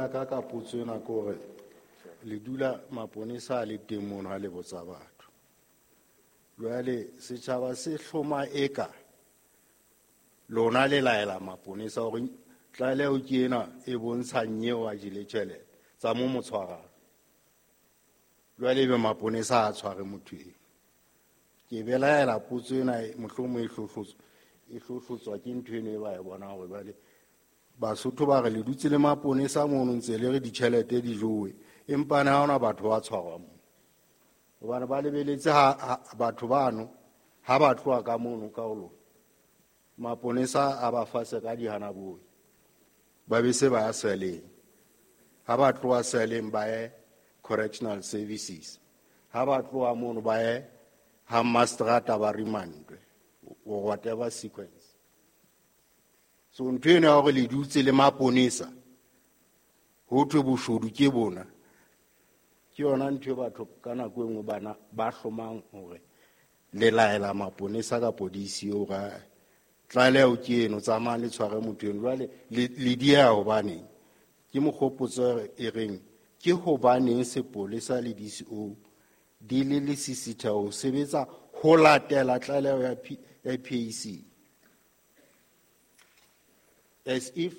Ya ka ka potso ena ke hore le dula maponesa a le teng mono ha le botsa batho. Jwale setjhaba se hloma eka lona le laela maponesa hore tlaleho ke ena e bontshang eo a jele tjhelete tsa mo mo tshwarang. Jwale ebe maponesa a tshware motho eo. Ke belaela potso ena mohlomong e hlohlotswa ke ntho eno e ba e bonang hore jwale Basotho ba re le dutse le maponesa mono ntse le re ditjhelete di jowe, empa ne ha hona batho ba tshwarwang moo. Hobane ba lebeletse ha batho bano ha ba tloha ka mono ka ho lona, maponesa a ba fase ka dihanaboi, ba be se ba ya seleng. Ha ba tloha seleng ba ye correctional services, ha ba tloha mono ba ye ha mastrata ba remandwe or whatever sequence. So ntho eno ya hore le dutse le maponesa ho thwe boshodu ke bona, ke yona ntho e batho ka nako e nngwe bana ba hlomang hore le laela maponesa kapo DCO hore tlaleho ke eno, tsamayang le tshware motho eno. Jwale le dieha hobaneng? Ke mokgopotso e reng ke hobaneng sepolesa le DCO di le lesisitheho ho sebetsa ho latela tlaleho ya PAC? As if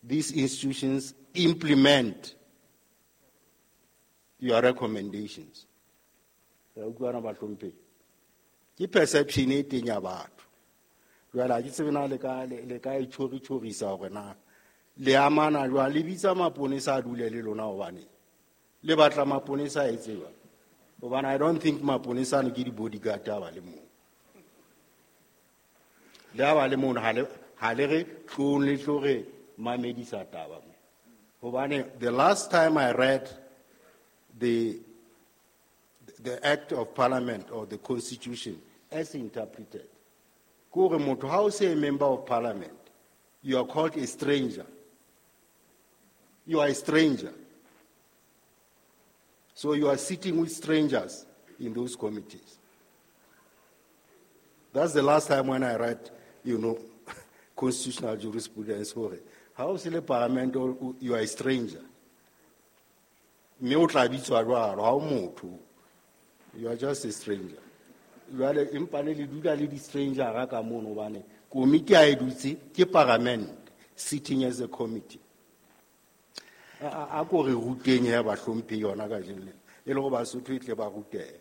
these institutions implement your recommendations. Re utlwana bahlomphehi? Ke perception e teng ya batho. Jwale ha ke tsebe na le ka e tjhori-tjhorisa hore na le amana jwang, le bitsa maponesa a dule le lona hobane le batla maponesa a etse jwang? Hobane I don't think maponesa ano ke di-bodyguard a ba le moo. Le ha ba le mono, ha le re tlong le tlo re mamedisa taba mo. Hobane the last time I read the Act of Parliament or the Constitution as interpreted, ke hore motho ha o se a member of parliament, you are called a stranger. You are a stranger. So you are sitting with strangers in those committees. That's the last time when I read constitutional jurisprudence. Hore ha o se le parliament, you are a stranger. Mme o tla bitswa jwalo, ha o motho. You are just a stranger. Jwale empa ne le dula le di-stranger ka mono hobane komiti ha e dutse ke parliament sitting as a committee. A ko re ruteng he bahlomphehi yona kajeno lena, e le hore Basotho e tle ba rutehe.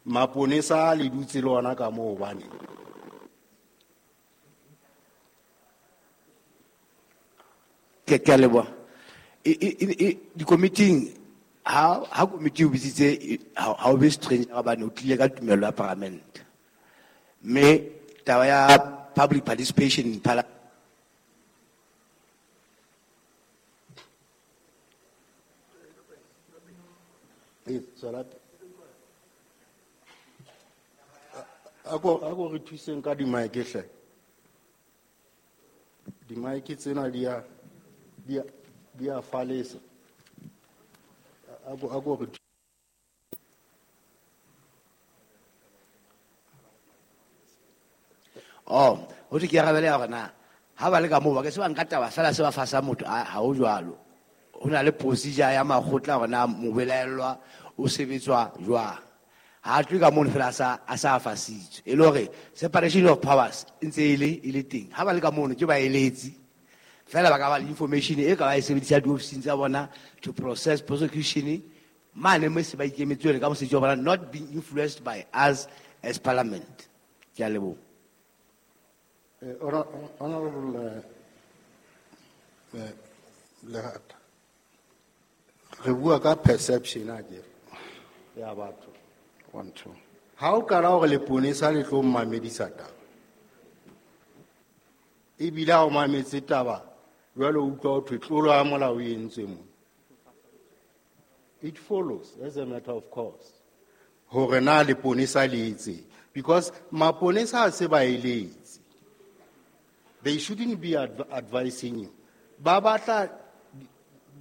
Maponesa a le dutse le ona ka moo hobane. Ke a leboha. Dikomiting, ha komiti o bitsitse, ha o be stranger hobane o tlile ka tumello ya parliament. Mme taba ya public participation in parliament. Ee, tswela pele. A ko re thuseng ka di-mic hle. Di-mic tsena di a falesa. A ko re Oh, ho thwe ke arabele ya hore na ha ba le ka moo ba ke se ba nka taba fela se ba fasa motho, ha ho jwalo. Ho na le procedure ya makgotla hore na mobelaellwa o sebetswa jwang. Ha tlohe ka mono fela a sa fasitswe. E le hore separation of powers e ntse e le teng. Ha ba le ka mono ke baeletsi. Fela ba ka ba le information e ka ba e sebedisa diofising tsa bona to process prosecution mane mo se ba ikemetse jwale ka mosebetsi wa bona, not being influenced by us as parliament. Ke a leboha. Honorable Lehata, re bua ka perception akere ya batho. 1, 2. Ha o qala hore leponesa le tlo mmamedisa taba, ebile ha o mametse taba jwale o utlwa ho thwe tlolo ya molao e entswe mona. It follows as a matter of course hore na leponesa le etseng, because maponesa ha se ba eletse. They shouldn't be advising you. Ba batla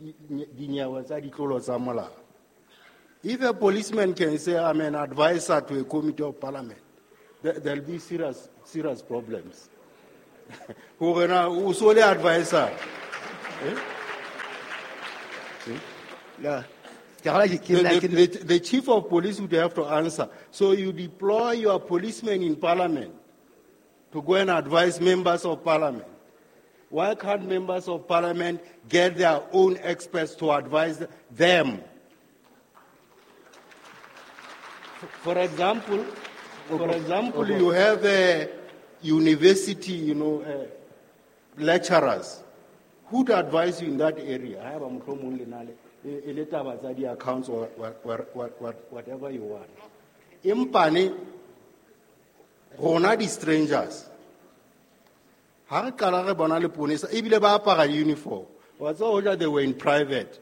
dinyewe tsa ditlolo tsa molao. If a policeman can say, I'm an advisor to a committee of parliament, there'll be serious, serious problems. Hore na, o so le advisor. See? No. Ke kgolwa ke nna The chief of police would have to answer. So you deploy your policemen in parliament to go and advise members of parliament. Why can't members of parliament get their own experts to advise them? For example, you have a university, lecturers who would advise you in that area. I have a mohlomong le na le, e le taba tsa di-accounts or whatever you want. Empa ne, rona di-strangers, ha re qala re bona leponesa, ebile ba apara uniform. Wa tseba hoja they were in private.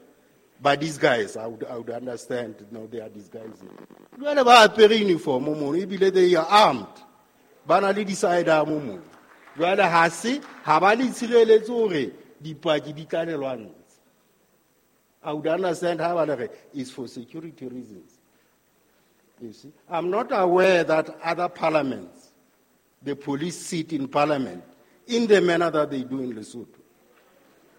But these guys, I would understand, they are disguising. Jwale ba apere uniform mono, ebile they are armed. Ba na le di-sidearm mono. Jwale ha se, ha ba le tshireletse hore dipaki di tla le lwantsha. I would understand how ba le re, it's for security reasons. You see, I'm not aware that other parliaments, the police sit in parliament in the manner that they do in Lesotho.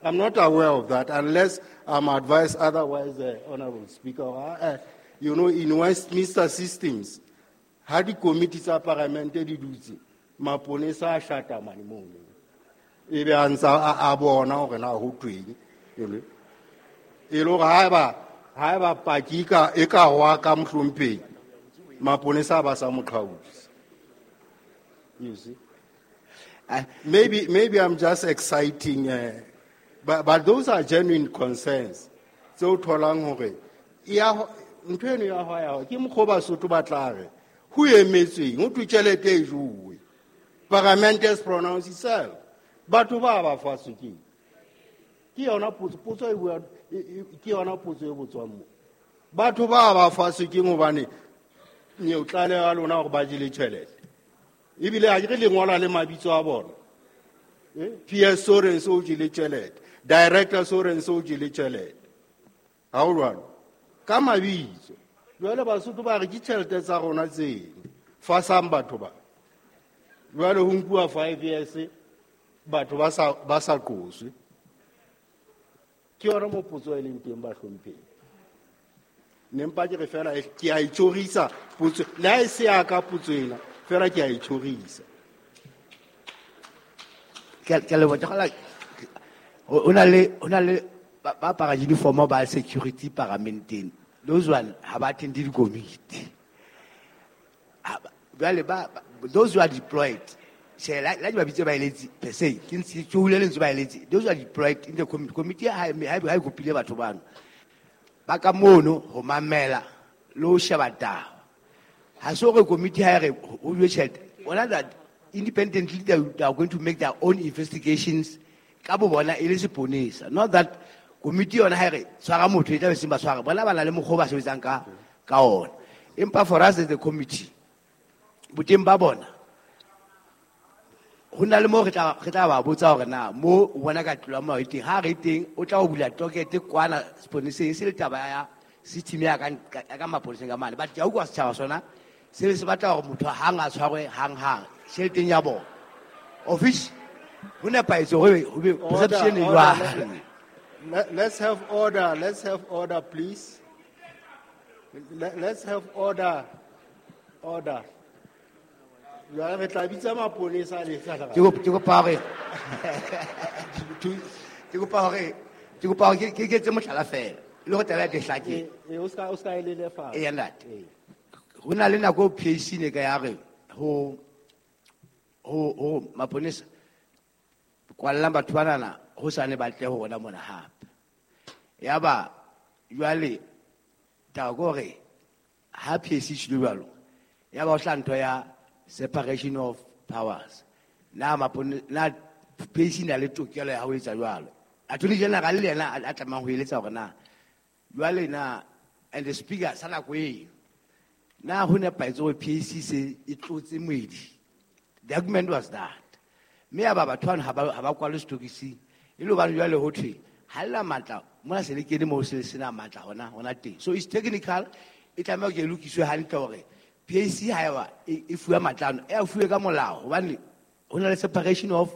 I'm not aware of that unless I'm advised otherwise, Honorable Speaker. In Westminster systems, ha di committee tsa parliament di dutse, maponesa a shata mane mono. Ebe a ntsa a bona hore na ho tweng, you know. E le hore haeba paki e ka hwa ka mohlomphehi, maponesa ba sa mo qhautse. You see? Maybe I'm just exciting, but those are genuine concerns. Tseo tholang hore, ya ho, ntho eno ya hwa ya hwa, ke mokgwa o Basotho ba tla re, ho emetsweng, ho thwe tjhelete e jowe. Parliament has pronounced itself. Batho ba ba faswe ke eng? Ke yona potso, potso e bua, e, e, ke yona potso e botswang mo. Batho ba ba faswe ke eng hobane neo tlaleho ya lona hore ba jele tjhelete. Ebile ha ke re le ngola le mabitso a bona. PS Sorenso o jele tjhelete, Director Sorenso o jele tjhelete. Ha ho jwalo? Ka mabitso. Jwale Basotho ba re ke tjhelete tsa rona tseno. Fasang batho ba. Jwale ho nkuwa 5 years batho ba sa qoswe. Ke yona mo potso e leng teng ba hlompheng. Ne mpa ke re fela ke a itjhorisa potso, le ha e se ya ka potso ena, fela ke a itjhorisa. Ke a leboha, ke kgola, ho na le, ho na le ba apara uniform ba security paramenteng. Those one ha ba attend di-committee. Ha ba, jwale ba, those who are deployed, tjhe, la di ba bitse baeletsi per se, ke ntse ke hule lentswe baeletsi. Those who are deployed in the committee ha e kopile batho bano. Ba ka mono ho mamela le ho sheba taba. Ha se hore committee ha e re ho jwe tjhelete. Bona that independently they are going to make their own investigations ka bo bona e le seponesa. Not that committee yona ha e re tshwara motho e tla be seng ba tshwara. Bona ba na le mokgwa o ba sebetsang ka ona. Empa for us as the committee, boteng ba bona, ho na le moo re tla ba botsa hore na mo o bona ka tlolo ya molao e teng. Ha re teng, o tla o bula tokete kwana seponeseng, e se le taba ya system ya ka maponeseng ka mane. But ke a utlwa setjhaba sona, se se batla hore motho hang a tshwarwe hang-hang, tjheleteng ya bona. Of which, ho nepahetse hore ho be Order, perception e order, jwang. Let's have order, let's have order, please. Let's have order, order. Jwale re tla bitsa maponesa le tla Ke kopa hore, ke kopa hore, ke kopa hore ke etse mohlala fela, e le hore taba ya teng e hlake. O ska e lelefatsa. Eya, ntate. Ee. Ho na le nako eo PAC ne ka ya re ho maponesa, kwallang batho banana, ho sane ba tle ho rona mona hape. Yaba jwale taba ke hore ha PAC e tjhelo jwalo, yaba ho hlaha ntho ya separation of powers. Na mapone, na PAC na le tokelo ya ho etsa jwalo. Attorney General le yena a tlamehang ho eletsa hore na jwale na, and the speaker sa nako eo, na ho nepahetse hore PAC se e tlotse moedi. The argument was that. Mme ya ba batho bano ha ba kwalwe setokising. E le hobane jwale ho thwe, ha le na matla, mona se le kene moo se le sena matla hona teng. So it's technical, e tlameha hore e lokiswe hantle hore PAC ha eba e fuwe matla ano, e a fuwe ka molao, hobane ho na le separation of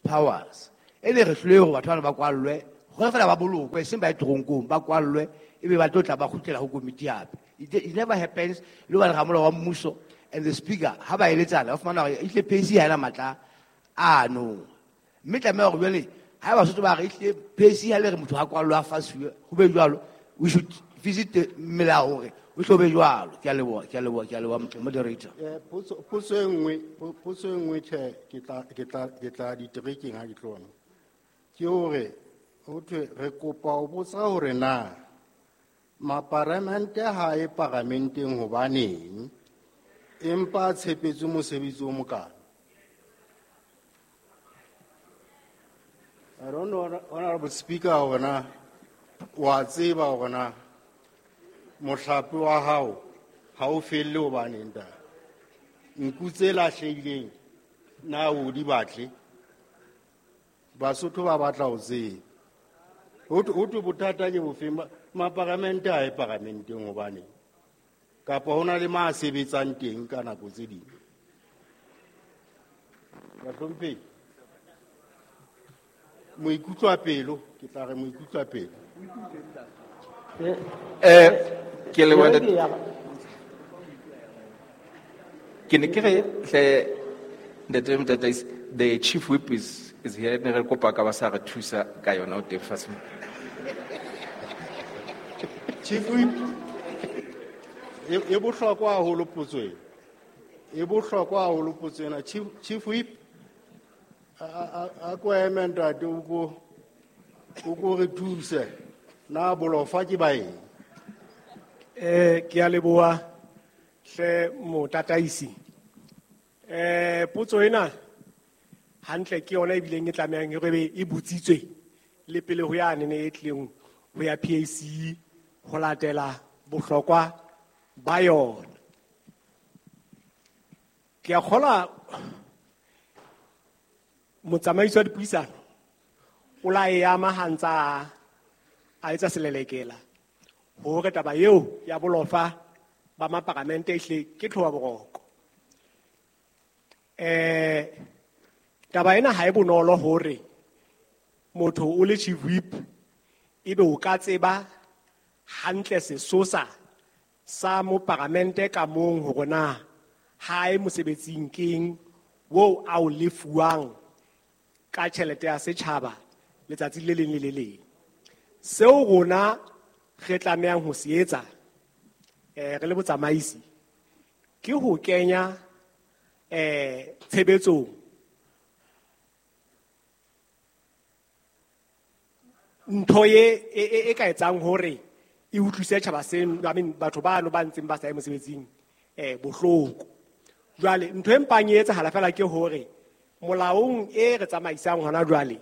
powers. E ne re hlolehe hore batho bano ba kwallwe Gore fela ba bolokwe, seng ba ye toronkong, ba kwallwe, ebe ba tlo tla ba kgutlela ho komiti hape. It never happens. Le hobane ramolao wa mmuso and the speaker, ha ba eletsana, ba fumana hore ehlile PAC ha ena matla ano. Mme tlameha hore jwale, ha eba Basotho ba re ehlile PAC ha le re motho ha kwallwe a fasuwe, ho be jwalo, we should visit melao hore ho tlo be jwalo. Ke a leboha, ke a leboha, ke a leboha, moderator. Potso e nngwe, potso e nngwe tjhe, ke tla diterekeng ha ke tlo bona. Ke hore, ho thwe re kopa ho botsa hore na maparamente ha e paramenteng hobaneng, empa a tshepetswe mosebetsi o mokana. I don't know, Honorable Speaker, hore na wa tseba hore na mohlape wa hao ha o felle hobaneng ntate. Nku tse lahlehileng na o di batle? Basotho ba batla ho tseba. Ho thwe bothata ke bofeng? Maparamente ha e paramenteng hobaneng? Kapa ho na le ma sebetsang teng ka nako tse ding? Bahlomphehi, moikutlwa pelo, ke tla re moikutlwa pelo. Ke leboha ntate. Ke ne ke re hle ntate Motataisi, the chief whip is here, ne re kopa ka ba sa re thusa ka yona o teng fatshe. Chief whip, e bohlokwa haholo potso ena. E bohlokwa haholo potso ena. Chief whip, a ko eme ntate, o ko re thuse. Na bolofa ke ba eng? Ke a leboha hle motataisi. Potso ena hantle ke yona e bileng e tlamehang e be e botsitswe le pele ho yane ne e tlileng ho ya PAC ho latela bohlokwa ba yona. Ke a kgolwa motsamaisi wa dipuisano o la e ama ha ntsa a etsa selelekela hore taba eo ya bolofa ba maparamente ehle ke tlhoba boroko. Taba ena ha e bonolo hore motho o le chief whip ebe o ka tseba hantle sesosa sa moparamente ka mong hore na ha e mosebetsing keng wo a o lefuwang ka tjhelete ya setjhaba letsatsi le leng le le leng. Seo rona re tlamehang ho se etsa, re le botsamaisi ke ho kenya, tshebetsong ntho e ka etsang hore e utlwise tjhaba seno, I mean, batho bano ba ntseng ba sa ye mosebetsing, bohloko. Jwale ntho e mpang e etsahala fela ke hore molaong e re tsamaisang hona jwale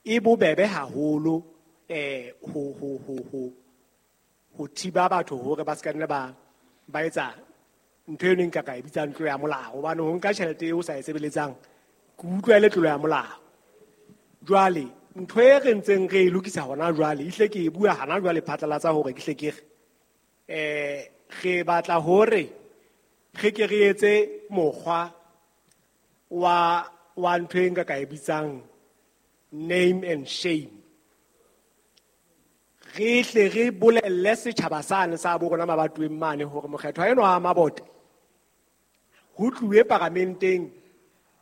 e bobebe haholo, ho thiba batho hore ba se ka nna ba etsa ntho eno e nka ka e bitsang tlolo ya molao, hobane ho nka tjhelete eo o sa e sebeletsang ke utlwa e le tlolo ya molao. Jwale ntho e re ntseng re e lokisa hona jwale, ehlile ke e bua hana jwale phatlalatsa hore ke hle ke re, re batla hore re ke re etse mokgwa wa ntho e nka ka e bitsang name and shame. Re hle re bolelle setjhaba sane sa bo rona mabatoweng mane hore mokgethwa enwa wa Mabote ho tluwe paramenteng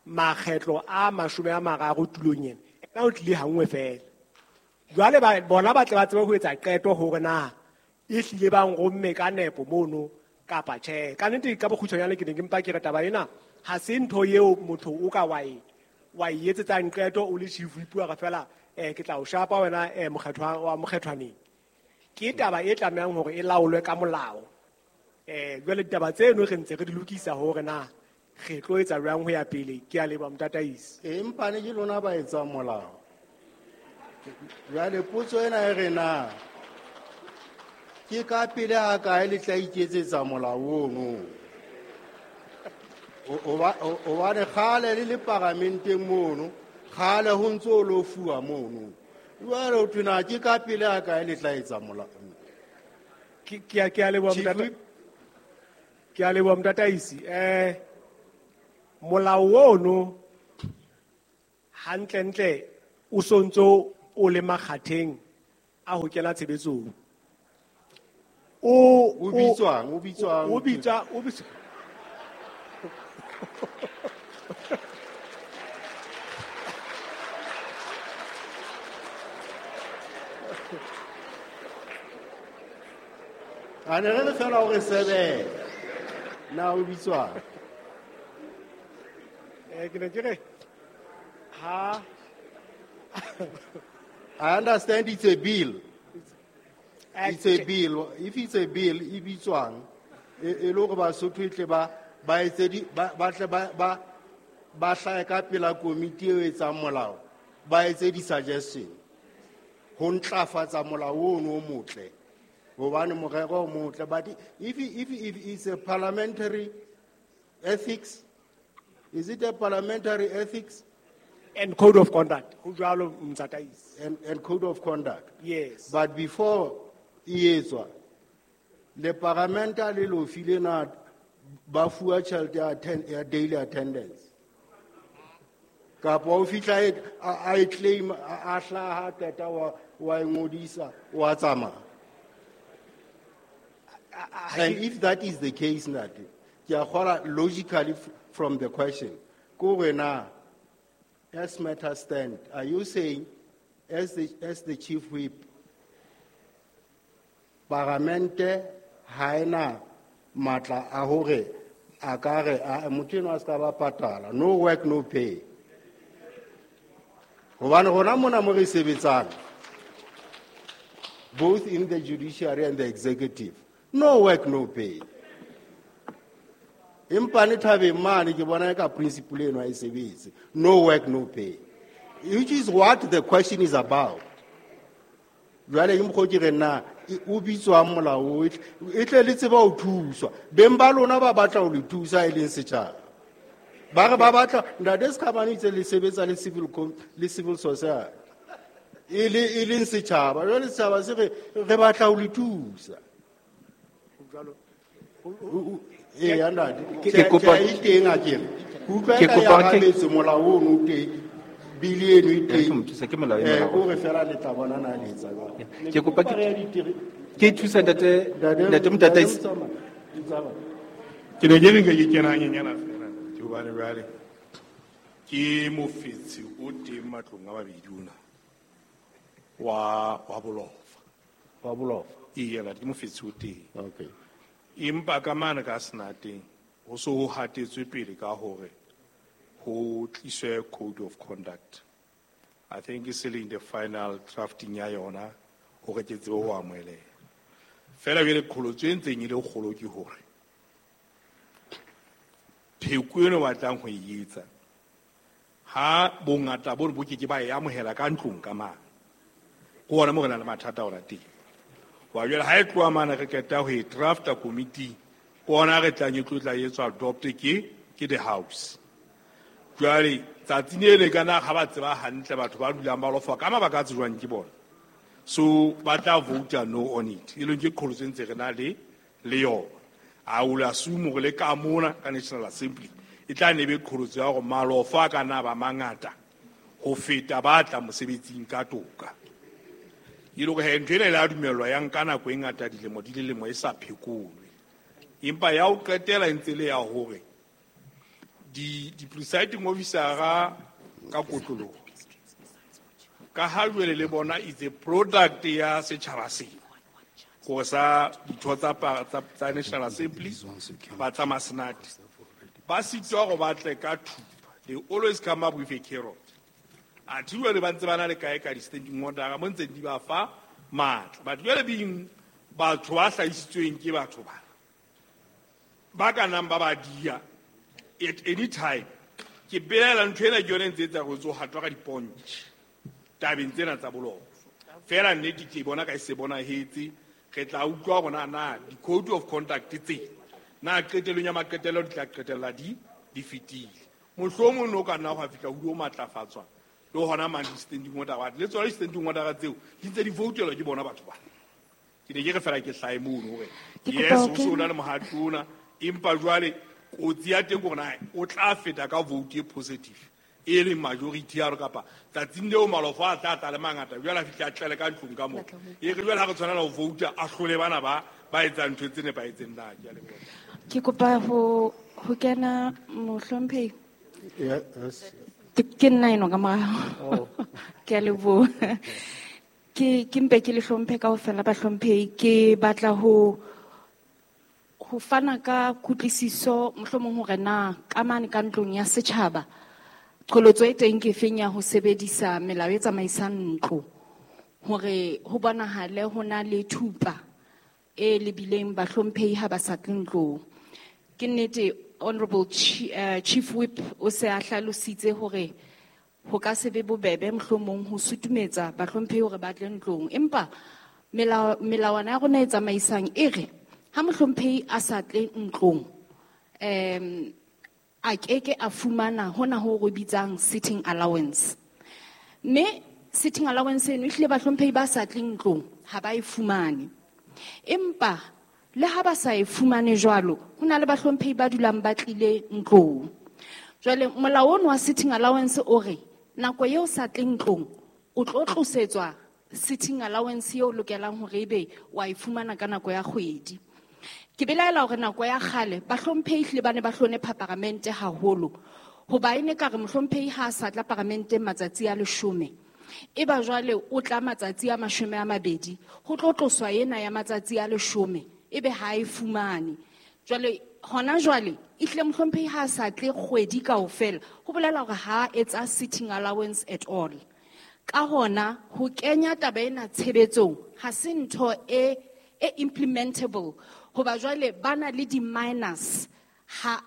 makgetlo a 30 tulong ena. Ena o tlile ha nngwe fela. Jwale bona ba tle ba tsebe ho etsa qeto hore na e hlile ba nromme ka nepo mono kapa tjhe. Ka nnete ka bokgutshwanyane ke ne ke mpa ke re taba ena ha se ntho eo motho o ka wa e etsetsang qeto o le chief whip wa re fela, ke tla o shapa wena, mokgethwa wa mokgethwaneng. Ke taba e tlamehang hore e laolwe ka molao. Jwale ditaba tseno re ntse re di lokisa hore na re tlo etsa jwang ho ya pele. Ke a leboha motataisi. Empa ne ke lona ba etsang molao. Jwale potso ena e re na ke ka pele ha kae le tla iketsetsa molao ono? Hobane kgale le le paramenteng mono, kgale ho ntso o lo fuwa mono. Jwale ho thwe na ke ka pele ha kae le tla etsa molao? Ke a leboha Chief motata- Whip. Ke a leboha motataisi. Molao ono hantlentle o sontso o le makgatheng a ho kena tshebetsong. O O bitswang, o bitswang. O bitsa, o bitsa. A ne re le fela hore sebele. Na o bitswang? Ke ne ke re, ha I understand it's a bill. It's a bill. If it's a bill, e bitswang, e le hore Basotho e tle ba, ba etse di, ba, ba tle ba, ba, ba hlahe ka pela komiti eo e etsang molao, ba etse di-suggestion ho ntlafatsa molao ono o motle. Hobane morero o motle, but if it's a parliamentary ethics, is it a parliamentary ethics? And code of conduct. Ho jwalo, Motataisi. And code of conduct. Yes. But before e etswa, le parlamenta le lo file na ba fuwa tjhelete ya ya daily attendance. Kapa o fihla e, a e claim, a hlaha qeta wa e ngodisa, wa tsamaya. And if that is the case, Ntate, ke a kgolwa logically from the question, ko re na, as matters stand, are you saying, as the chief whip, paramente ha ena matla a hore a ka re, a, motho enwa a ska ba patala, no work, no pay. Hobane rona mona mo re sebetsang, both in the judiciary and the executive, no work, no pay. Empa ne thabeng mane ke bona eka principle eno ha e sebetse. No work, no pay. Which is what the question is about. Jwale ke mokgwa o ke reng na, o bitswang molao o, e tle le tsebe ho thuswa. Beng ba lona ba batla ho le thusa e leng setjhaba. Ba re ba batla, Ntate Sekhamane o itse le sebetsa le civil le civil society. E le, e leng setjhaba. Jwale setjhaba se re, re batla ho le thusa. Jwalo. Eya, ntate. Ke kopa Tjhe, e teng akere. Ke utlwa Ke eka ya kopa ke arabetse molao ono o teng, bili eno e Ya, teng. ke mo thusa, ke molao e molao. O re fela le tla bona na le etsa jwang. Ke kopa ke Kopa re ya ditiri- Ke thusa ntate, Ntate, ntate Motataisi. ntate, tsamaya, tsamaya. Ke ne ke re nke ke kena hanyenyana fela, ke hobane jwale ke mofetshe o teng matlong a mabedi ona wa Bolofa. Wa Bolofa. Eya, ntate, ke mofetshe o teng. Okay. Empa ka mane ka Senateng ho so ho hatetswe pele ka hore ho tliswe code of conduct. I think e se le in the final drafting ya yona hore ke tsebe ho amoheleha. Feela jwale qholotso e ntseng e le kgolo ke hore pheko eno ba batlang ho e etsa, ha bongata bo bo ke ke ba e amohela ka ntlong ka mane. Ke hona moo re nang le mathata ona teng. Wa jwale ha e tloha mane re qeta ho e drafta committee, ke hona re tlang e tlo tla etswa adopt ke the house. Jwale tsatsing le le kana ha ba tseba hantle batho ba dulang ba lofa ka mabaka a tsejwang ke bona. So ba tla vote no on it. E leng ke qholotso e ntse re na le yona. I will assume hore le ka mona ka National Assembly e tla ne be qholotso ya hore malofa a ka nna ba mangata ho feta ba tla mosebetsing ka toka. E le hore he, ntho ena e la dumellwa ya nka nako e ngata dilemo di le lemo e sa phekolwe. Empa ya ho qetela e ntse le ya hore di presiding officer-a ka kotloloho, ka ha jwale le bona is a product ya setjhaba sena, hore sa ditho tsa National Assembly ba tsa Masenate ba sitwa hore ba tle ka thupa. They always come up with a carrot. Athe jwale ba ntse ba na le kae ka di-standing order mo ntseng di ba fa matla. But jwale being batho ba hlahisitsweng ke batho ba, ba ka nang ba ba dia at any time. Ke belaela ntho ena ke yone e ntse e etsa hore o hatwa ka dipontjhe tabeng tsena tsa boloko. Feela nnete ke bona ka e se bonahetse, re tla utlwa hore na di-code of conduct tse na qetellong ya maqetello di tla qetella di fetile. Mohlomong no ka nna hwa fihla ho dio matlafatswa le hona mang di-standing order, but le tsona di-standing order tseo di ntse di voutelwa ke bona batho ba. Ke ne ke re fela ke hlahe mono hore Ke kopa yes, ho o so kena. na le mohato ona, empa jwale kotsi ya teng ke hore na o tla feta ka vote e positive e leng majority ya rona kapa tsatsing leo malofo a tla tla le mangata jwale a fihle a tlele ka ntlong ka moo e re jwale ha re tshwanela ho vouta a hlole bana ba etsang ntho tse nepahetseng na. Ke a leboha. Ke kopa ho kena mohlomphehi. Yes. Ke nna eno ka morao. Ke a leboha. Ke mpe ke le hlomphe kaofela bahlomphehi. Ke batla ho fana ka kutlwisiso mohlomong hore na ka mane ka ntlong ya setjhaba qholotso e teng ke feng ya ho sebedisa melao e tsamaisang ntlo hore ho bonahale ho na le thupa e lebileng bahlomphehi ha ba sa tle ntlong. Ke nnete Honorable Chief Whip o se a hlalositse hore ho ka se be bobebe mohlomong ho sutumetsa bahlomphehi hore ba tle ntlong, empa melawana ya rona e tsamaisang e re ha mohlomphehi a sa tle ntlong a keke a fumana hona ho re bitsang sitting allowance. Mme sitting allowance eno ehlile bahlomphehi ba sa tleng ntlong ha ba e fumane. Empa le ha ba sa e fumane jwalo, ho na le bahlomphehi ba dulang ba tlile ntlong. Jwale molao ono wa sitting allowance o re nako eo sa tleng ntlong o tlo tlosetswa sitting allowance eo lokelang hore ebe wa e fumana ka nako ya kgwedi. Ke belaela hore nako ya kgale bahlomphehi hlile ba ne ba hlonepha paramente haholo, hoba e ne ka re mohlomphehi ha a sa tla paramenteng matsatsi a 10, e ba jwale o tla matsatsi a 20, ho tlo tloswa ena ya matsatsi a 10 ebe ha e fumane. Jwale hona jwale ehlile mohlomphehi ha a sa tle kgwedi kaofela, ho bolela hore ha etsa sitting allowance at all. Ka hona ho kenya taba ena tshebetsong ha se ntho e implementable, hoba jwale ba na le di-minus ha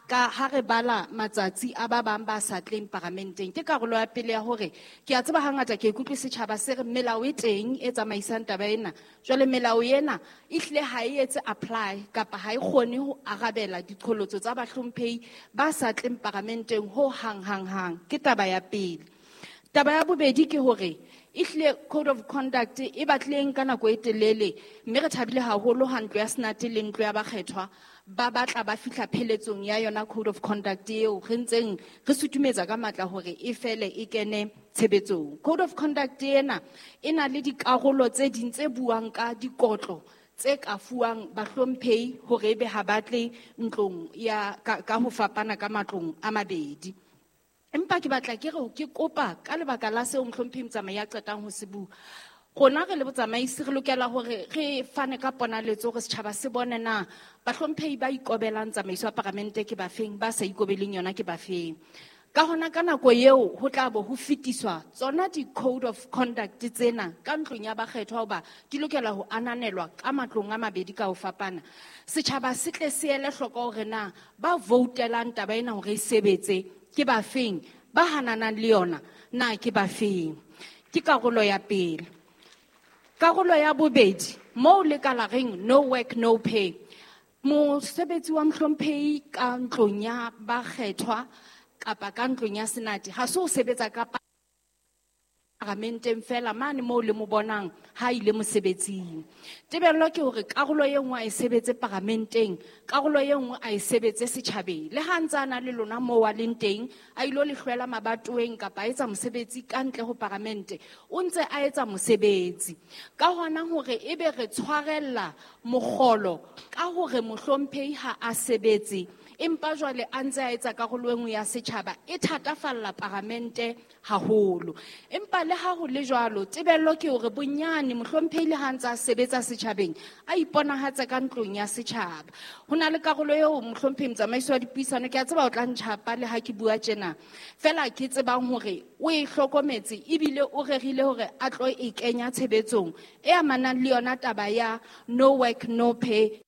re bala matsatsi a ba bang ba sa tleng paramenteng. Ke karolo ya pele ya hore ke a tseba hangata ke ikutlwe setjhaba se re melao e teng e tsamaisang taba ena. Jwale melao ena ehlile ha e etse apply kapa ha e kgone ho arabela diqholotso tsa bahlomphehi ba sa tleng paramenteng ho hang hang hang. Ke taba ya pele. Taba ya bobedi ke hore ehlile code of conduct e batlileng ka nako e telele, mme re thabile haholo ha ntlo ya Senate le ntlo ya bakgethwa ba batla ba fihla pheletsong ya yona code of conduct eo re ntseng re sutumetsa ka matla hore e fele e kene tshebetsong. Code of conduct ena e na le dikarolo tse ding tse buang ka dikotlo tse ka fuwang bahlomphehi hore ebe ha ba tle ntlong ya ka ho fapana ka matlong a mabedi. Empa ke batla ke re ke kopa ka lebaka la seo mohlomphehi Motsamai a qetang ho se bua, rona re le botsamaisi re lokela hore re fane ka ponaletso hore setjhaba se bone na bahlomphehi ba ikobelang tsamaiso ya paramente ke bafeng, ba sa ikobeleng yona ke bafeng. Ka hona ka nako eo ho tla bo ho fetiswa tsona di-code of conduct tsena ka ntlong ya bakgethwa, hoba di lokela ho ananelwa ka matlong a mabedi ka ho fapana. Setjhaba se tle se ele hloko hore na ba voutelang taba ena hore e sebetse ke bafeng, ba hananang le yona na ke bafeng. Ke karolo ya pele. Karolo ya bobedi, moo le ka la reng no work no pay, mosebetsi wa mohlomphehi ka ntlong ya bakgethwa kapa ka ntlong ya Senate ha se o sebetsa ka paramenteng fela mane moo le mo bonang ha ile mosebetsing. Tebello ke hore karolo e nngwe a e sebetse paramenteng, karolo e nngwe a e sebetse setjhabeng. Le ha ntse a na le lona moo a leng teng, a ilo le hlwela mabatoweng kapa a etsa mosebetsi ka ntle ho paramente, o ntse a etsa mosebetsi. Ka hona hore ebe re tshwarella mokgolo ka hore mohlomphehi ha a sebetse, empa jwale a ntse a etsa karolo e nngwe ya setjhaba, e thatafalla paramente haholo. Empa le ha ho le jwalo, tebello ke hore bonyane mohlomphehi le ha ntse a sebetsa setjhabeng, a iponahatse ka ntlong ya setjhaba. Ho na le karolo eo mohlomphehi motsamaisi wa dipuisano, ke a tseba o tla ntjhapa le ha ke bua tjena, fela ke tsebang hore o e hlokometse ebile o rerile hore a tlo e kenya tshebetsong e amanang le yona taba ya no work no pay.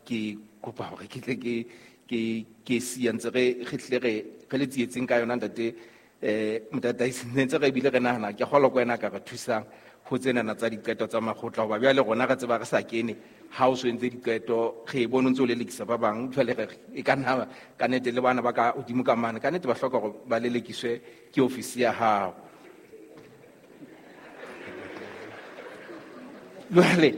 Ke kopa hore ke tle ke siya ntse re tle re le tsietseng ka yona ntate motataisi, ntse re bile re nahana ke kgolwa ko wena ka re thusang ho tsenana tsa diqeto tsa makgotla, hoba bjale rona re tseba re sa kene ha o so entse diqeto, re bone o ntse o lelekisa ba bang. Jwale re e ka nna ka nnete le bana ba ka hodimo ka mane, ka nnete ba hloka hore ba lelekiswe ke ofisi ya hao. Jwale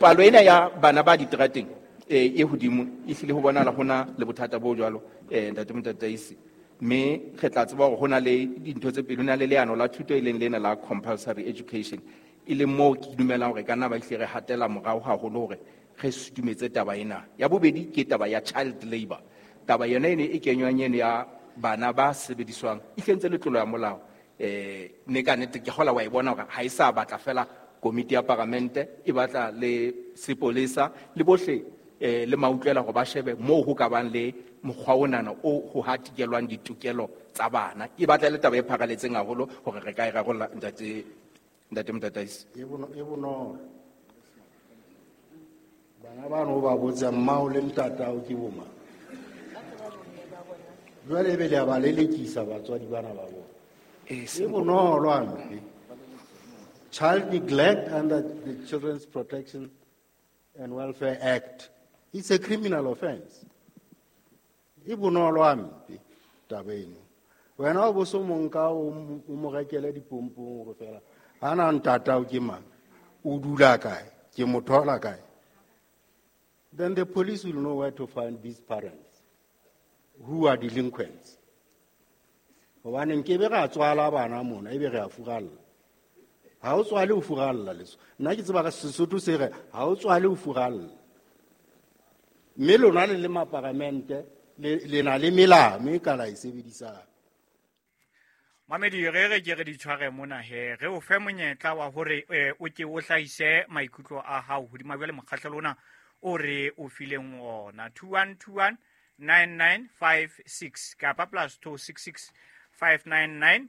palo ena ya bana ba diterateng e hodimo ehlile ho bonahala hona le bothata bo jwalo, ntate motataisi. Mme re tla tseba hore ho na le dintho tse pedi, ho na le leano la thuto e leng lena la compulsory education, e leng moo ke dumelang hore ka nna ba hlile re hatela morao haholo hore re sutumetse taba ena. Ya bobedi ke taba ya child labour. Taba yona ene e kenywang eno ya bana ba sebediswang e hlentse le tlolo ya molao. Ne ka nnete ke kgola wa e bona hore ha e sa batla fela komiti ya paramente, e batla le sepolesa le bohle le mautlwela hore ba shebe moo ho ka bang le mokgwa onana o ho hatikelwang ditokelo tsa bana. E batla le taba e pharaletseng haholo hore re ka e rarolla, ntate Motataisi. E bonolo. Bana bano o ba botsa mmao le ntatao ke bo mang? Jwale ebe le a ba lelekisa batswadi bana ba bona. E bonolo hampe. Child neglect under the Children's Protection and Welfare Act. It's a criminal offense. E bonolo hampe taba eno. Wena o bo so monka o mo rekele dipompong hore fela ha na ntatao ke mang? O dula kae? Ke mo thola kae? Then the police will know where to find these parents who are delinquents. Hobane nkebe ra tswala bana mona ebe re a furalla. Ha o tswale o furalla leso. Nna ke tseba ka Sesotho se re ha o tswale o furalla. Mme lona le le maparamente le na le melao e ka la e sebedisang. Mamedi re ke re di tshware mona he re o fe monyetla wa hore o ke o hlahise maikutlo a hao hodima jwale mokgahlelo ona o re o fileng ona 2121 9956 kapa +266 599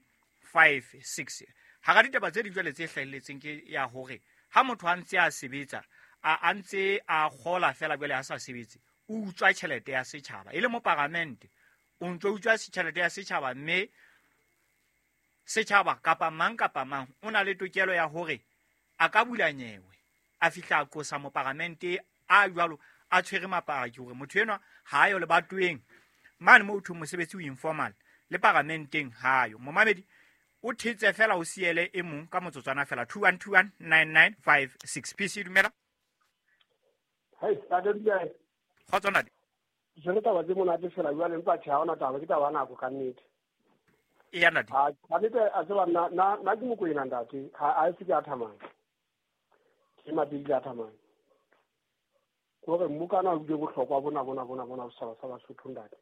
56. Hara ditaba tse ding jwale tse hlahelletseng ke ya hore ha motho a ntse a sebetsa a ntse a kgola fela jwale a sa sebetse o utswa tjhelete ya setjhaba e le moparamente o ntse o utswa tjhelete ya setjhaba mme setjhaba kapa mang o na le tokelo ya hore a ka bula nyewe a fihla a qosa moparamente a jwalo a tshwere mapaki hore motho enwa ha yo le batweng mane mo thong mosebetsi o informal le paramenteng ha yo. Momamedi o thetse fela o siele e mong ka motsotswana fela 2121 9956. PC dumela. Hey, ntate Dubai. Kgotso ntate. Jwale taba tse monate fela jwale empa tjhe ha hona taba, ke taba ya nako ka nnete. Eya ntate. Ka nnete a tseba nna ke Mokwena ntate, ha e se ke a thamang. Ke mabedi a thamang. Kore mmokana o bile bohlokwa bona setjhaba sa Basotho ntate.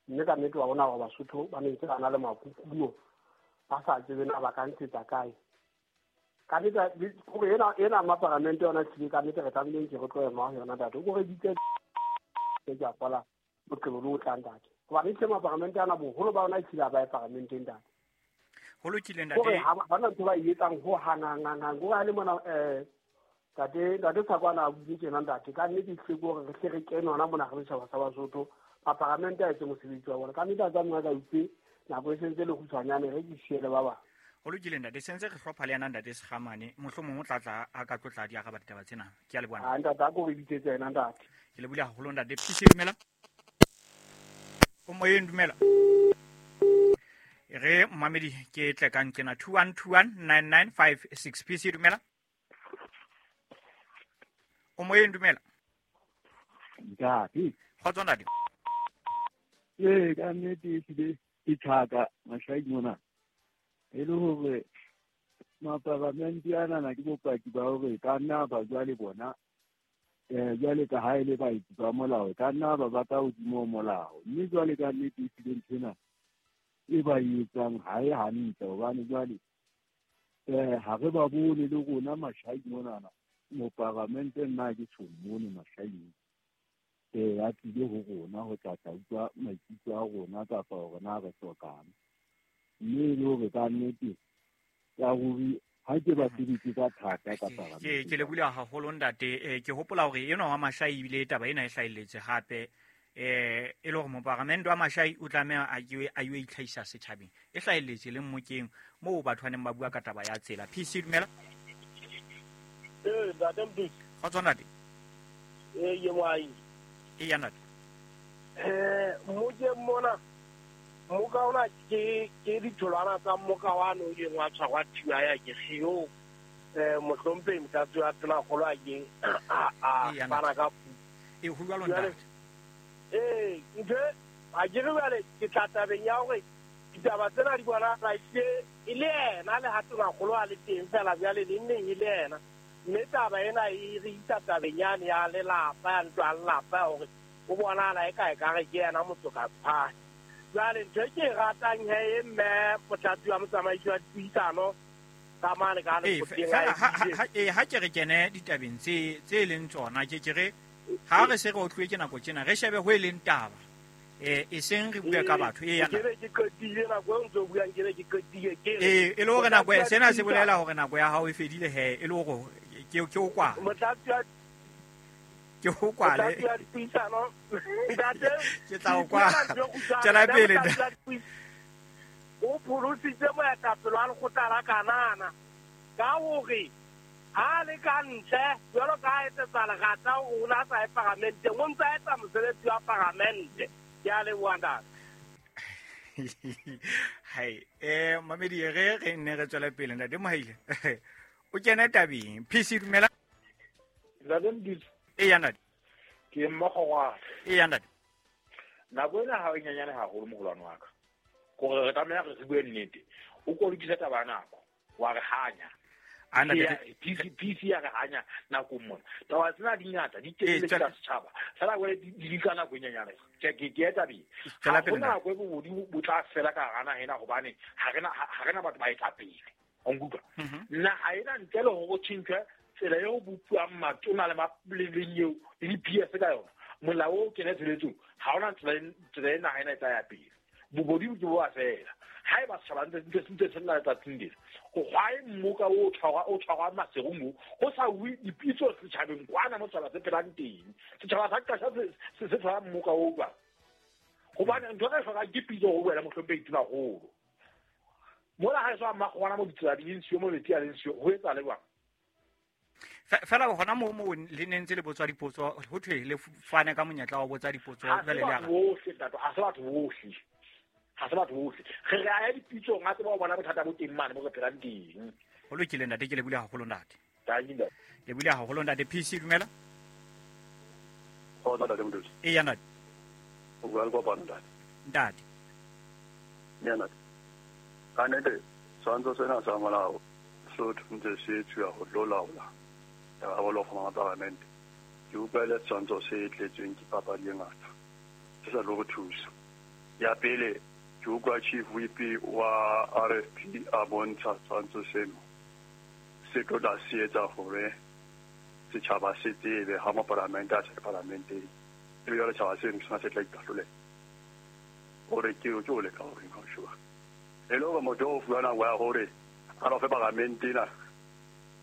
Mme ka nnete wa bona wa Basotho ba ne ntse ba na le makukuno ba sa tsebe na ba ka ntshetsa kae. Ka nnete kore ena maparamente yona tlile ka nnete re tlamehile ke re tlo ema ho yona ntate. Kore ditse ke a kwala boqebo bo tlang ntate. Hobane tle maparamente ana boholo ba ona e tlile ba e paramenteng ntate. Ho lokile ntate. Kore ha ba na ntho ba e etsang ho hanang go ha le mona ntate Tsakwana a buile tjena ntate. Ka nnete tle gore re tle re kene hona mona re setjhaba sa Basotho. Maparamente a etse mosebetsi wa bona. Ka nnete a tsamaya ka itse nako e sentse le kgutshwanyane re ke siele ba bang. Ho lokile ntate, sentse re hlopha le yana ntate Sekgamane, mohlomong o tla a ka tlotla di araba ditaba tsena. Ke a leboha. Ha ntate a ko re bitsetse yena ntate. Ke lebohile haholo ntate. PC dumela. O moyeng dumela. Re mamedi ke tle ka nkena 2121 9956. PC dumela. O moyeng dumela. Ntate. Kgotso ntate. Ee, ka nnete ehlile ke thaka mashai mona. E le hore maparamente anana ke bopaki ba hore ka nna ba jwale bona jwale ka ha e le baetsi ba molao, ka nna ba ba ka hodimo ho molao. Mme jwale ka nnete ehlile nthwena e ba e etsang ha e hantle, hobane jwale ha re ba bone le rona mashai monana. Moparamente nna ke tjho mone mashai a tlile ho rona ho tla utlwa maikutlo a rona kapa hore na re hlokang. Mme e le hore ka nnete ka ruri ha ke ba sebetse ka thata ka ke lebohile haholo ntate. Ke hopola hore enwa wa Mashai ebile taba ena e hlahelletse hape e le hore moparamente wa Mashai o tlameha a yo itlhahisa setjhabeng. E hlahelletse le mmokeng moo batho ba neng ba bua ka taba ya tsela. PC dumela. Ntate Mdusi. Kgotso ntate. Ye moahi. Eya ntate. Mmokeng mona mmoka ona ke ditholwana tsa mmoka wane o ileng wa tshwarwa thiba ya ke sio mohlomphehi Motlatsi wa Tonakgolo a keng a fana ka e ho jwalo ntate. Ntho A ke re jwale ke tla tabeng ya hore ditaba tsena di bonahala e le yena le ha tonakgolo a le teng fela jwale neng neng e le yena. Mme taba ena e re isa tabeng yane ya lelapa, ya ntlo ya lelapa ya hore o bonahala e ka ekare ke yena motsokaphane. Jwale ntho e ke e ratang he e mme motlatsi wa motsamaisi wa dipuisano ka mane ka lekgotleng a e Ha ke re kene ditabeng tse leng tsona, ke ke re ha re se re otluwe ke nako tjena, re shebe ho e leng taba. E seng re bue ka batho. Ke be ke qetile nako eo ntse o buang, ke be ke qetile, ke re E le hore nako e, sena se bolela hore nako ya hao e fedile he, e le hore ke o kwale. Motlatsi wa Ke o kwale. Motlatsi wa dipuisano, ntate, Ke tla o kwala. ke tla Tswela pele, motlatsi wa dipuisano. O pholositse moetapele wa lekgotla la Kanana ka hore ha le ka ntle, jwalo ka ha etsetsa lerata hore o na sa ye paramenteng, o ntse a etsa mosebetsi wa paramente. Ke a leboha, ntate. Hai, mamedi, re nne re tswele pele, ntate Mohaile. O kene tabeng. PC, dumela. Ntate Modise. Eya, ntate. Ke mmogo wa. Eya, ntate. Nako ena ha e nyenyane haholo, moholwane wa ka. Kore re tlameha re bue nnete. O ko lokise taba ya nako, wa re hanya. A, ntate, Ke ya, PC ya re hanya nakong mona. Taba tsena di ngata, di telele Tswela ka setjhaba. Fela jwale di ka nako e nyenyane. Ke eta pele. Tswela Ha pele, hona ntate. nako e bobodi bo tla fela ka hara naha ena hobane ha rena batho ba etapele. Wa nkutlwa? Naha ena ntle le hore ho tjhentjhwe tsela eo ho bopuwang matona le le nyeo le di-P S ka yona. Molao o kene tshebetsong, ha hona tsela e naha ena e tla ya pele. Bobodi ke bo a fela. Haeba setjhaba ntse se lla letsatsing lena, why mmoka o tshwarwa, o tshwarwa Maseru moo, ho sa uwe dipitso setjhabeng kwana mo setjhaba se phelang teng. Setjhaba sa Qasha se tshwara mmoka o jwang? Hobane ntho e re hlokang ke pitso ho wena, mohlomphehi Tonakgolo. Mola ha e so Mmakgowana mo ditsela di leng siyo, mo metsi a leng siyo, ho etsahala jwang? Fela hona moo le ne ntse le botswa dipotso, ho thwe le fane ka monyetla wa ho botsa dipotso, Ha se jwale le batho ara. bohle, ntate, ha se batho bohle. Ha se batho bohle. Re re a ya dipitsong, a tseba ho bona bothata bo teng mane mo re phelang teng. Ho lokile, ntate, ke lebohile haholo, ntate. Thank you, ntate. Lebohile haholo, ntate. PC, dumela. Kgotso, ntate Modise. Eya, ntate. O bua le Kopano, ntate. Ntate. Eya, ntate. Ka nnete, setshwantsho sena sa molao seo ntse se etsuwa ho tlo laola karolo go mapalamente. Ke utlwa e le setshwantsho se tletsweng ke papadi e ngata, se sa tlo re thusa. Ya pele, ke utlwa Chief Whip wa RFP a bontsha setshwantsho seno se tlo tla se etsa hore setjhaba se tsebe ha mapalamente a se palamenteng, ebe jwale setjhaba seno ke sona se tla ikahlolela hore ke o leka hore ha o sheba. E le hore motho o fuwa nako ya hore a lo fe palamente ena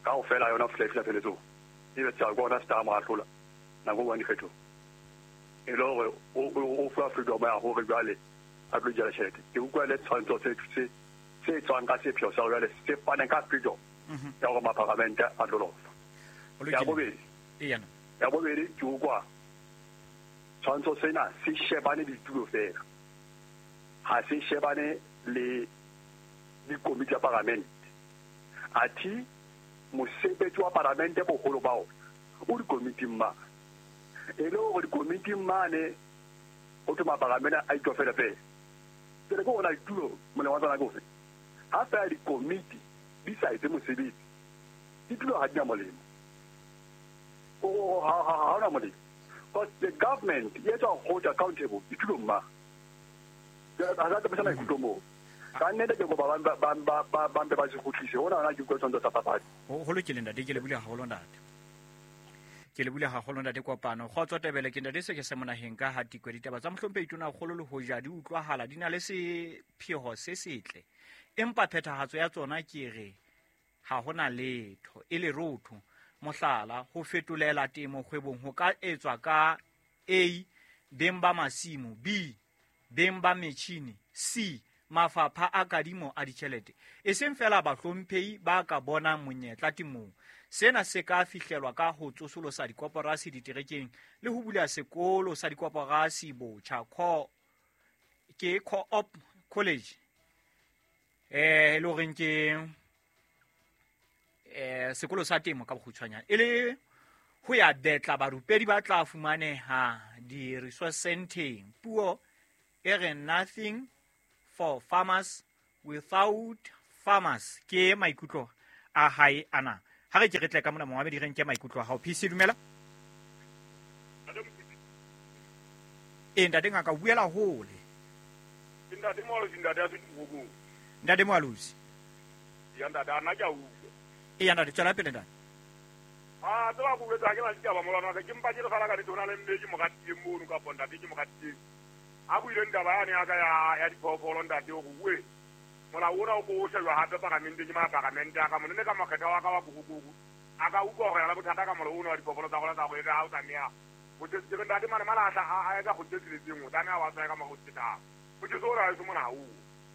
kaofela yona ho fihla e fihla pheletsong, ebe setjhaba ke hona se tla mo ahlola nako e buang dikgethong. E le hore o fuwa freedom ya hore jwale a tlo jala tjhelete. Ke utlwa le tshwantsho se tswang ka sepheo sa hore jwale se fane ka freedom ya hore mapalamente a tlo lofa. Ho lokile. Ya bobedi. Eya, no. Ya bobedi, ke utlwa tshwantsho sena se shebane le ditulo fela, ha se shebane le dikomiti tsa palamente. Athe mosebetsi wa palamente boholo ba ona o dikomiting mane. E le hore dikomiting mane ho thwe mapalamente a itofele fela. Ke re ke ona ditulo molemo wa tsona ke ofe? Ha fela dikomiti di sa etse mosebetsi, ditulo ha di na molemo. Ha hona molemo. Because the government e etsa hold accountable ditulong mane. Ha sa tsamaisa maikutlo moo. Ka nnete ke kopa ba mpe ba se kgutlise. Hona hona ke utlwa tshwantsho sa papadi. Ho lokile, ntate, ke lebohile haholo, ntate. Ke lebohile haholo, ntate Kopano. Kgotso Tebele, ke ntate se ke se monaheng ka ha tikwe. Ditaba tsa mohlomphehi Tonakgolo le hoja di utlwahala, di na le sepheo se setle, empa phethahatso ya tsona ke re ha hona letho e lerotho. Mohlala, ho fetolela temo kgwebong ho ka etswa ka A, beng ba masimo, B, beng ba metjhini, C, mafapha a kadimo a ditjhelete. E seng fela bahlomphehi ba ka bonang monyetla temong. Sena se ka fihlelwa ka ho tsosolosa dikoporasi diterekeng le ho bula sekolo sa dikoporasi botjha, ke Co-op College. E le horeng ke sekolo sa temo ka bokgutshwanyane. E le ho ya betla barupedi ba tla fumaneha di-resource centeng. Puo E re nothing for farmers without farmers. Ke maikutlo a hae ana. Ha re ke re tle ka mona momamedi re nke maikutlo a hao. PC dumela. E ntate ngaka buela hole. Ntate Moalosi, ntate a se dikgobong. Ntate Moalosi. Ya ntate ana ke a utlwa. E ya ntate tswela pele ntate. A tseba go botsa ke la ditaba molwana wa ka ke mpa ke re fela ka ditona le mme ke mo ratileng mono kapa ntate ke mo ratileng. A buileng taba yane ya ka ya diphoofolo ntate o re molao ona o ko o shejwa hape paramenteng ke maparamente a ka mone ne ka makgetha wa ka wa bogogogo a ka utlwa gore ya la bothata ka molao ona wa diphoofolo tsa rona tsa go eka ha o tlameha go ke ntate mane malahla a etsa go tsetseletseng o tlameha wa tsaya ka mora o tsetang o tse o ra e se mona ha o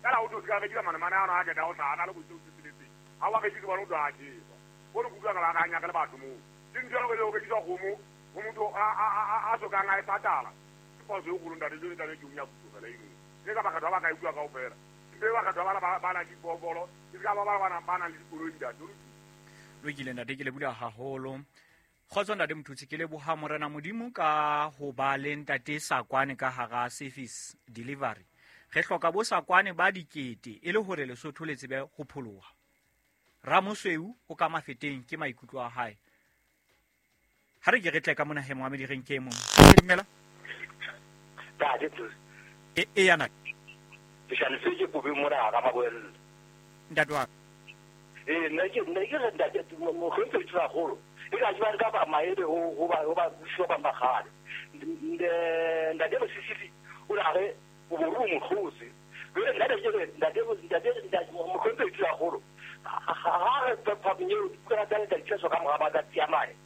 fela o tlo se ka rekisa mane mane ano a keta o tla ana le go tsetseletseng ha wa rekise bana o tlo a jesa o re kutlwa ka ba ka nyaka le batho moo ke ntho ya go rekisa kgomo go motho a sokang a e patala ke phoso e kgolo ntate jone tlabe ke o nya puso fela eno ke ka bakgatho ba ka e bua kaofela mpe bakgatho ba na diphoofolo ke ka ba ba nang le dikoloi ntate. Lokile ntate ke leboha haholo. Kgotso ntate Mthutsi ke leboha Morena Modimo ka ho ba le ntate Sakwane ka hara service delivery. Re hloka bo Sakwane ba dikete e le hore Lesotho le tsebe ho pholoha. Ramosweu o ka mafeteng ke maikutlo a hae. Ha re ke re tle ka mona he moamedi re nke mong. Dumela. Ntate E yana. Ke shane se ke kobe mona ga maboella. Ntate wa. Nna ke re ntate mohlomphehdi Tonakgolo. E ka jwang ka ba maele ho ba buswa ba magale. Ntate Mosisili o la re o boru mokgotsi. Jwale ntate ke re ntate mohlomphehdi Tonakgolo. Ha re phapanyeo ka tsa ditšheso ka mora matsatsi a mane.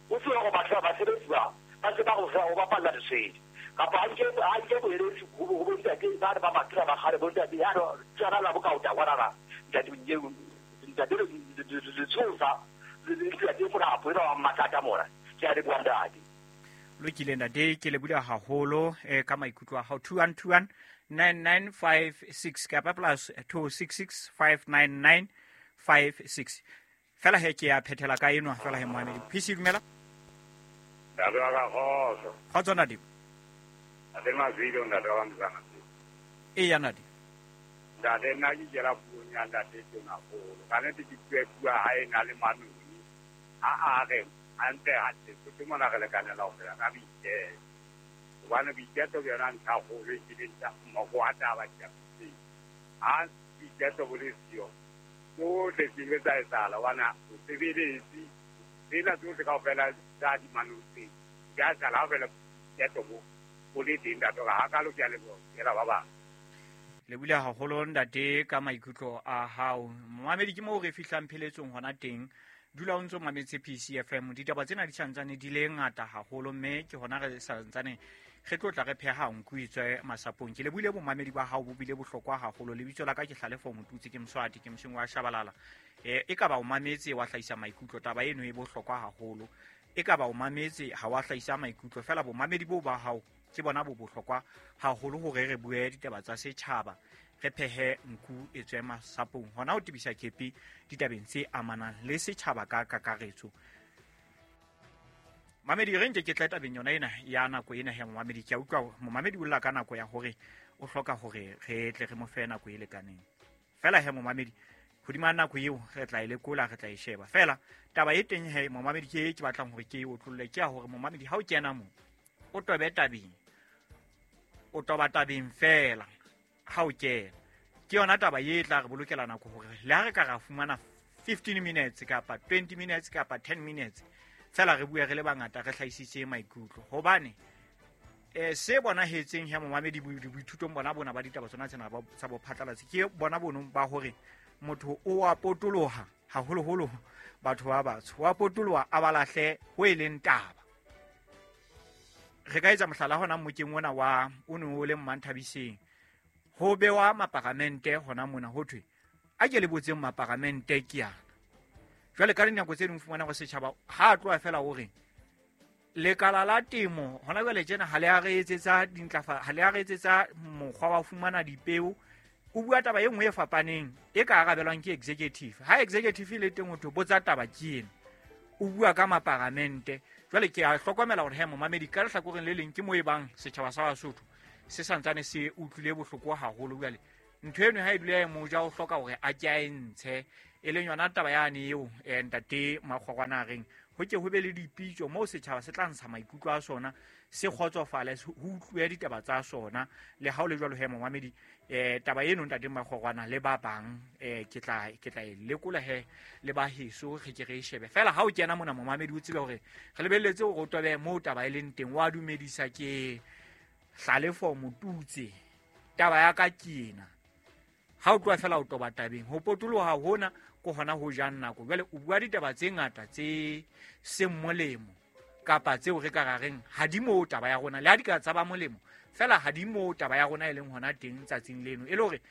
O tswe go batla ba sebetsi ba se ba go go bapalla lesedi. Kapa a nke boeletsi go bontate ba re ba matura ba gale bontate ya tsana la bokaota kwana ntate ntate letsosa le mona a wa mathata mona ke a le bua ntate. Lokile ntate ke le bula haholo ka maikutlo a hao. 2121 9956 kapa plus 266 599 56. Fela he ke a phethela ka enwa fela he moamedi. PC dumela. Ntate wa ka kgotso. Kgotso ntate. Ntate Mazilo ntate wa Mzana. E ya ntate. Ntate nna ke kela puong ya ntate Tonakgolo. Ka nnete ke bua ha e na le manoni. A re a nte hantle Sotho mona re lekanela ho phela ka boiketlo. Hobane boiketlo ke yona ntlha kgolo e kileng moko wa taba ke. Ha boiketlo bo le siyo tsohle ke ile tsa etsahala hobane o sebeletse tsena tsohle kaofela tsa dimanotse di a etsahala ha feela boiketlo bo le teng ntate hore hakalo ke a leboha fela ba bang. Le bula haholo ntate ka maikutlo a hao. Momamedi ke moo re fihlang pheletsong hona teng. Dula o ntso mametse PCFM. Ditaba tsena di santsane di le ngata haholo mme ke hona re santsane re tlo tla re pheha nku itswe masapong. Ke lebohile bomamedi ba hao bo bile bohlokwa haholo. Lebitso la ka ke Hlalefo Motutsi ke Mswati ke Moseng wa Shabalala. E ka ba o mametse wa hlahisa maikutlo taba eno e bohlokwa haholo. E ka ba o mametse ha wa hlahisa maikutlo fela bomamedi bo ba hao ke bona bo bohlokwa haholo hore re bue ditaba tsa setjhaba re phehe nku e tswe masapong. Hona ho tebisa kepi ditabeng tse amanang le setjhaba ka kakaretso. Mamedi re nke ke tla tabeng yona ena ya nako ena ya momamedi. Ke a utlwa momamedi o lla ka nako ya hore o hloka hore re tle re mo fe nako e lekaneng. Fela he momamedi hodima nako eo re tla e lekola re tla e sheba. Fela taba e teng he momamedi ke ke batlang hore ke e otlolle ke ya hore momamedi ha o kena mo o tobe tabeng. O toba tabeng fela ha o kena. Ke yona taba e tla re bolokela nako hore le ha re ka ra fumana 15 minutes kapa 20 minutes kapa 10 minutes fela re bue re le bangata re hlahisitse maikutlo. Hobane se bonahetseng he momamedi boithutong bona ba ditaba tsona tsena tsa bophatlalatsi ke bona bonong ba hore motho o a potoloha haholoholo batho ba batsho wa potoloha a balahle ho e leng taba. Re ka etsa mohlala hona mmokeng ona wa o ne o le Mmanthabiseng ho bewa maparamente hona mona ho thwe a ke le botseng maparamente ke yana. Jwale ka dinako tse ding fumana go setjhaba ha a tloha fela hore lekala la temo hona jwale tjena ha le a re etsetsa dintlafa ha le a re etsetsa mokgwa wa fumana dipeo. O bua taba e nngwe e fapaneng e ka arabelwang ke executive. Ha executive le teng ho thwe botsa taba ke ena. O bua ka maparamente. Jwale ke a hlokomela hore he momamedi ka lehlakoreng le leng ke mo e bang setjhaba sa Basotho Se santsane se utlwile bohloko haholo. Jwale ntho eno ha e dula e moja, o hloka hore a ke a e ntshe, e leng yona taba yane eo ntate Makgorwana a reng ho ke ho be le dipitso moo setjhaba se tla ntsha maikutlo a sona, se kgotsofale, ho utlwe ditaba tsa sona. Le ha o le jwalo he momamedi, taba eno ntate Makgorwana le ba bang, ke tla e lekola he le ba heso, re ke re e shebe fela. Ha o kena mona momamedi, o tsebe hore re lebelletse hore o tobe moo taba e leng teng. Wa dumedisa ke Hlalefo Motutse, taba ya ka ke ena. Ha o tloha fela o toba tabeng, ho potoloha hona ko hona ho jang nako. Jwale o bua ditaba tse ngata tse seng molemo kapa tseo re ka ra reng ha di moo taba ya rona, le ha di ka tsa ba molemo fela ha di moo taba ya rona e leng hona teng tsatsing leno. E le hore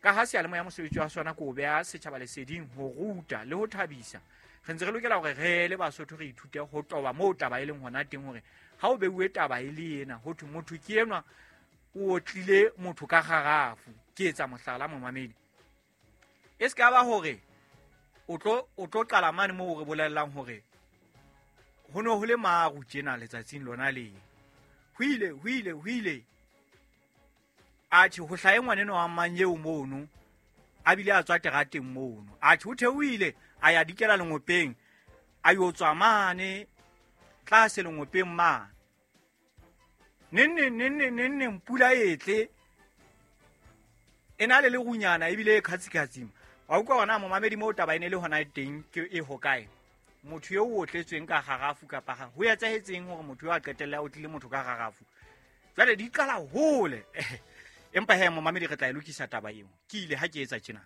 ka ha seyalemoya mosebetsi wa sona ko beha setjhaba leseding, ho ruta le ho thabisa, re ntse re lokela hore re le Basotho re ithute ho toba moo taba e leng hona teng, hore ha o beuwe taba e le ena ho thwe motho ke enwa o otlile motho ka kgarafu. Ke etsa mohlala momamedi, e se ka ba hore o tlo qala mane moo re bolellang hore ho ne ho le maru tjena letsatsing lona le ho ile atjhe ho hlahe ngwaneno wa mang eo mono, a bile a tswa terateng mono, atjhe o theohile a ya dikela lengopeng, a yo tswa mane tlase lengopeng mane, neng pula e tle e na le lerunyana ebile e kgatsikgatsima. Wa utlwa hona momamedi moo taba e ne le hona teng ke e hokae? Motho eo o otletsweng ka kgarafu kapa ho etsahetseng hore motho eo a qetelle a otlile motho ka kgarafu? Jwale di qala hole. Empa he momamedi, re tla e lokisa taba eo. Ke ile ha ke etsa tjena.